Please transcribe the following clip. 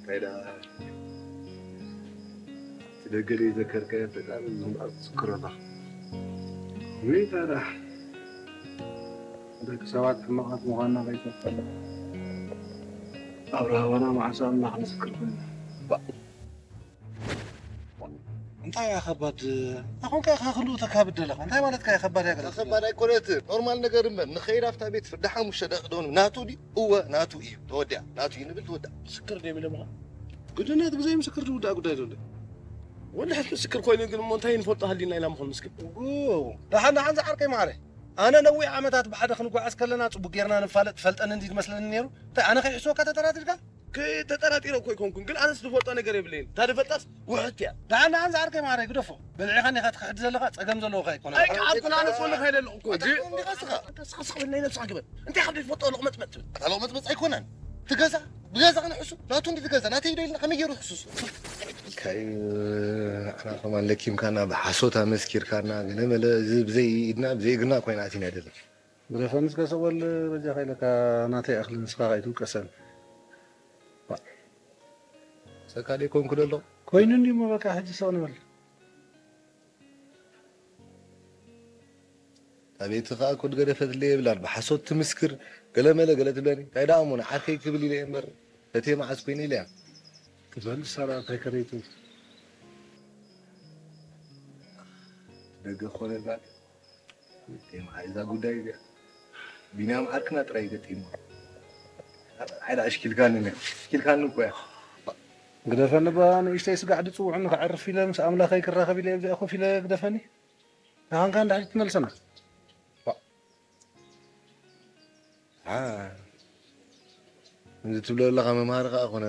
ናይዳ እቲ ደገ ዘይዘከርካዮ ፈጣሪ ዝምባር ትዝክሮ ኣለኻ። ወይ ታዲያ ደቂ ሰባት ሕማቓት ምዃንና ከይተፈለ ኣብ ራህዋና መዓስ ኣምላኽ ምስክር ኮይኑ። እንታይ እያ ከባድ? ኣኹን ከ ከክሉ ተካብድ ኣለኻ። እንታይ ማለት ከ ከባድ ያገለ? ከባድ ኣይኮነትን። ኖርማል ነገር እምበር ንኸይድ ኣብታ ቤት ፍርዲ ሓሙሽተ ደቂ ደኑ ናቱ ድዩ? እወ ናቱ እዩ። ተወዲያ። ናቱ እዩ ንብል ተወዲያ። ምስክር ደይ ብለምኻ? ግድነት ብዘይ ምስክር ዝውዳእ ጉዳይ ዘሎ። ወላ ሕት ምስክር ኮይኑ ግን እሞ እንታይ ንፈልጦ ሃሊና ኢና ምኾን ምስክር? ደሓን ደሓን ዝዓርከይ ማዕረ። ኣነ ነዊሕ ዓመታት ብሓደ ክንጓዓዝ ከለና ጽቡቅ ጌርና ንፋለጥ ትፈልጠኒ እንዲ ትመስለኒ ነይሩ። እንታይ ኣነ ከይሕስወካ ተጠራጢርካ? ከ-፣ ተጠራጢረ እኮ ኣይኮንኩን፣ ግን ኣነስ ዝፈልጦ ነገር የብለይን። እታ ዝፈልጣስ ውሕት እያ። ደሓን ደሓን ዝዓርከይ ማዕረ ግደፎ። በልዒኻ እንዲኻ ትክሕድ ዘለኻ ጸገም ዘለዎኻ ኣይኮነን። ኣይከኣልኩን፣ ኣነስ ወላ ከይደ ኣለኹ እኮ። ኣታ ግን እንዲኻ ስኻ፣ ኣታ ስኻ ስኻ በል ናይ ነብስኻ ግበር። እንታይ ካብ ዘይትፈልጦ ሎቕመጽመጽ ትብል? ኣታ ሎቕመጽመጽ ኣይኮነን። ትገዛ ብገዛ ክንሕሱ ናቱ እንዲ ትገዛ ናተይ ዶ ኢልና ከመይ ገይሩ ክሕሱስ? ካይ ንሕና ከማን ለኪምካና ብሓሶት ኣመስኪርካና ገለ መለ እዚ ብዘይ ኢድና ብዘይ እግርና ኮይና ኣቲና ደለ። ግደፈኒ እስከ ስቕ በል በጃኻ ኢለካ ናተይ ኣኽሊ ንስኻ ከይትውቀሰኒ። ሰካ ደይኮንኩ ደሎ። ኮይኑ እንዲሞ በቃ ሕጂ ስቕ ንበል። ኣቤት ኸኣ ኮድ ገደፈትለይ የብላን ብሓሶት ትምስክር ገለ መለ ገለ ትብለኒ እንታይ ደኣ እሞ ንዓርከይ ክብል ኢለ እየ እምበር እቴ መዓስ ኮይኑ ኢለ እያ። ክበል ሰራ እንታይ ከረይቱ ደገ ክኾነልና እቴ መዓስ እዛ ጉዳይ እዚኣ ቢንያም ዓርክና ጥራይ ገጢሙ። ዓይዳ ኣሽኪልካኒ ነያ ኣሽኪልካኒ እኮ እያ። ግደፈኒ ባ ንእሽተይ ስጋዕ ድጽውዑኒ ከዕርፍ ኢለ ምስ ኣምላኸይ ክራኸብ ኢለ እዚኣ ኮፍ ኢለ ግደፈኒ። ንኻንካ እንድሕር ትመልሰና። ዋ። ዓ፣ እዚ ትብሎ ዘለኻ መምሃሪ ከኣ ኮነ